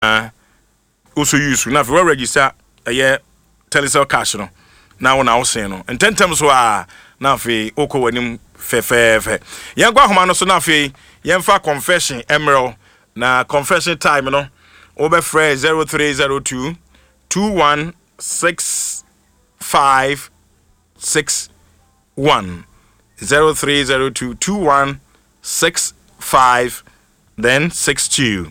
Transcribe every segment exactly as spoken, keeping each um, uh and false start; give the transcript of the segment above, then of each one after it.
Woso use na afei wɔregister ɛyɛ Telecel Cash no na wo na wosen no ntɛntɛm so a, na afei wokɔ w'anim fɛfɛɛfɛ. Yɛnkɔ ahoma no so na afei yɛmfa confession mmerɛw, na confession time no, wobɛfrɛ zero three zero two two one six five six one, zero three zero two two one six five then six two.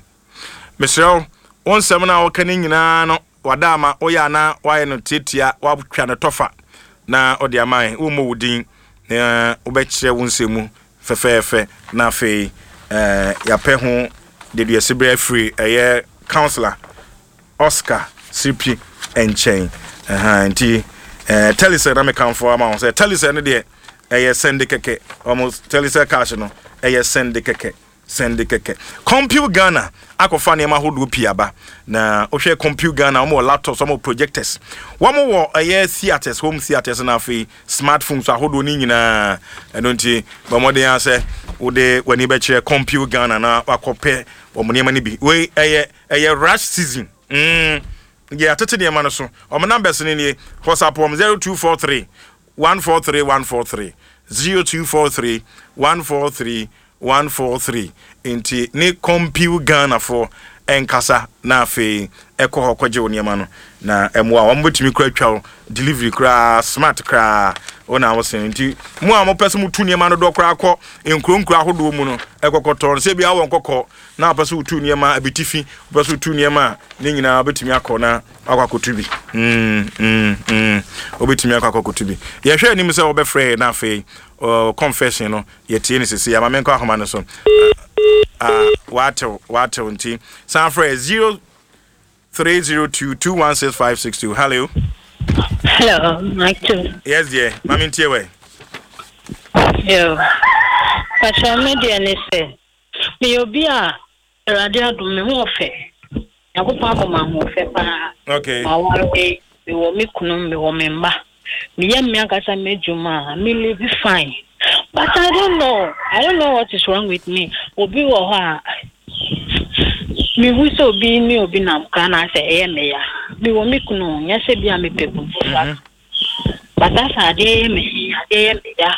Mesrɛ wo, wo nsɛm no a wɔka no nyinaa no, wada ama woyɛ anaa woayɛ no tiatia, woatwa no tɔfa na ɔde ama yɛn. Wommɔ wo din na wobɛkyerɛ wo nsɛm mu fɛfɛɛfɛ, na afei eh, yɛapɛ ho deduase berɛ afiri ɛyɛ Councillor Oscar Siripi nkyɛn. Ɛha nti eh, Telecel na mekamfo ama wo sɛ Telecel no deɛ, ɛyɛ send kɛkɛ. Ɔmo Telecel Cash no ɛyɛ send kɛkɛ, send kɛkɛ. Compute Ghana akɔfa nneɛma ahodoɔ pii aba, na wohwɛ Compute Ghana, wɔn wɔ laptops, wɔn wɔ projectors, wɔn wɔ ɛyɛ theatres, home theatres, na afei smartphones ahodoɔ ne nyinaa. Ɛno nti bɔ mmɔden asɛ wode w'ani bɛkyerɛ Compute Ghana na wakɔpɛ wɔn nneɛma no bi. Wei ɛyɛ ɛyɛ rush season mm yɛ atete nneɛma no so. Wɔn numbers no nie: WhatsApp wɔn zero two four three one four three one four three, zero two four three one four three one four three. Nti ne Compute Ghana foɔ ɛnkasa na afei ɛkɔ hɔ kɔgye wo nneɛma no na ɛmoa wɔn. Bɛtumi kora atwa wo delivery koraa, smart koraa wo na wosen. Nti mo a mopɛ sɛ motu nneɛma no dɔ koraa kɔ nkuro nkuro ahodoɔ mu no, ɛkɔkɔtɔn sɛ bia wɔ nkɔkɔ na wopɛ sɛ wotu nneɛma abitifi, wopɛ sɛ wotu nneɛma a ne nyinaa wobɛtumi akɔ na akɔ akɔtu bi. mm, mm, mm. Wobɛtumi akɔ akɔkɔtu bi. Yɛhwɛ anim sɛ wobɛfrɛ na afei uh, confession no yɛtie no sisi ama. Menkɔ ahoma no so. uh, watew watew nti san frɛ zero three zero two two one six five six two. Hello. Hello, Michael. Yes dear, mami, ntie wɛ. Yo. Pastor, me deɛ ne sɛ, meyɛ obi a Awurade adom me ho ɔfɛ. Nyankopɔn abɔ me ahoɔfɛ paa. Okay maware, mewɔ me kunu, mewɔ me mma. Meyɛ me ankasa m'adwuma a, me live fine. But I don't know. I don't know what is wrong with me. Obi wɔ hɔ a, mehu sɛ obi ne obi nam koraa na asɛ ɛyɛ me ya. Mewɔ me kunu, nyɛ sɛ bi a mepɛ kunu foforɔ. But asa adeɛ yɛ me he, adeɛ yɛ me ya.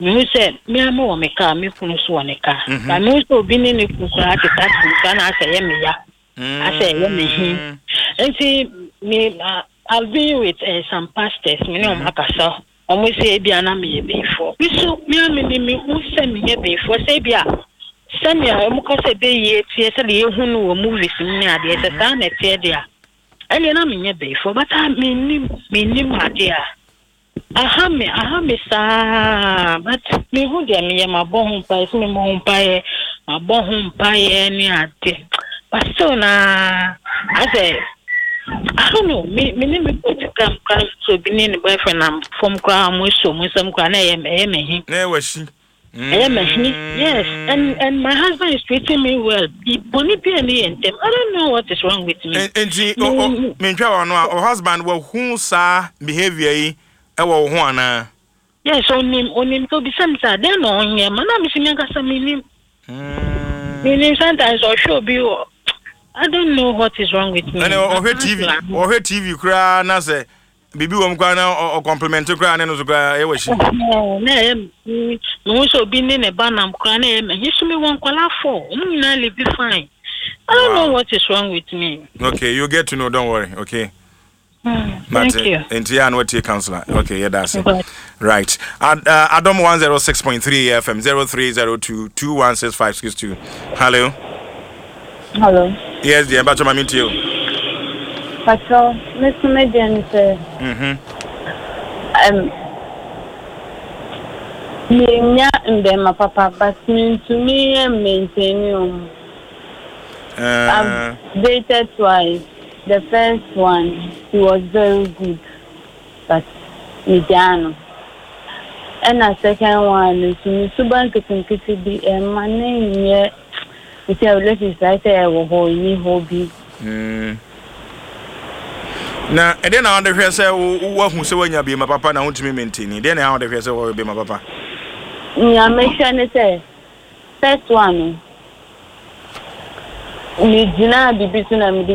Mehu sɛ me a mewɔ me kaa, me kunu so wɔ ne kaa. Mhm. But mehu sɛ obi ne ne kunu koraa te taxi mu koraa na asɛ ɛyɛ me ya. Asɛ ɛyɛ me he. Nti me uh, I've been with uh, some pastors, me ne ɔmo akasa. Ɔmo sɛ ebi a na meyɛ bɛyifoɔ. Me so me a me ne me hu sɛ meyɛ bɛyifoɔ, sɛ ebi a sɛnea ɔmo ka sɛ bɛyie teɛ, sɛdeɛ yɛhu no wɔ movies mu ne adeɛ, sɛ saa na ɛteɛ deɛ a, ɛnneɛ na menyɛ bɛyifoɔ. But ah, mennim mennim adeɛ a aha me aha me saa, but mehu deɛ meyɛ. Mabɔ ho mpaeɛ sɛ memmɔ ho mpaeɛ, mabɔ ho mpaeɛ ne adeɛ, but still na asɛ I don't know. Me me ne me kɔ sika koraa sɛ obi ne ne boyfriend nam fam koraa, mo esuo mo nsam koraa na ɛyɛ ɛyɛ me he. Na ɛwɔ ahyi. Ɛyɛ me he, yes, and and my husband is treating me well. Boni bi a ne yɛ ntɛm. I don't know what is wrong with me. Nti mentwa wɔ no a, o husband wahu saa behavior yi ɛwɔ wo ho anaa? Yes, onim onim sɛ obisa mi sɛ adeɛ na ɔnyɛ ma na mi si mi ankasa mi nim. Mi nim. Sometimes ɔhwɛ obi wɔ, I don't know what is wrong with me. Ɛnɛ ɔhwɛ T V, ɔhwɛ T V koraa na sɛ biribi wɔ mu koraa na ɔcompliment koraa ne no so koraa ɛwɔ akyi. Na ɛyɛ mehu sɛ obi ne ne ba nam koraa na ɛyɛ me so. Mewɔ nkwadaa four, ɔmo nyinaa live fine. I don't know what is wrong with me. Okay, you get to know, don't worry, okay? Mm, thank you. Nti yɛ a na watie counselor. Okay, yɛda ase. Right. Ad, uh, Adom one oh six point three F M, zero three zero two two one six five six two. Hello. Hello. Yes dear, mpakyɛ ma mentie o. Pacho, me so me deɛ ne sɛ Mhm. um, menya mbɛrima papa, but mentumi maintain wɔn. Uh, I've dated twice. The first one, he was very good, but megyaa no. Ɛna second one no nso, me suba nketenkete bi ɛma ne nyɛ nti a relationship ayɛ sɛ ɛwɔ hɔ, ɛni hɔ bi. mm. Na ɛdeɛ na wode hwɛ sɛ wo- woahu sɛ woanya bima papa na wontumi maintain? Deɛ na wode hwɛ sɛ wɔyɛ bima papa? Nea mehwɛ ne sɛ first one no, megyinaa biribi so na mede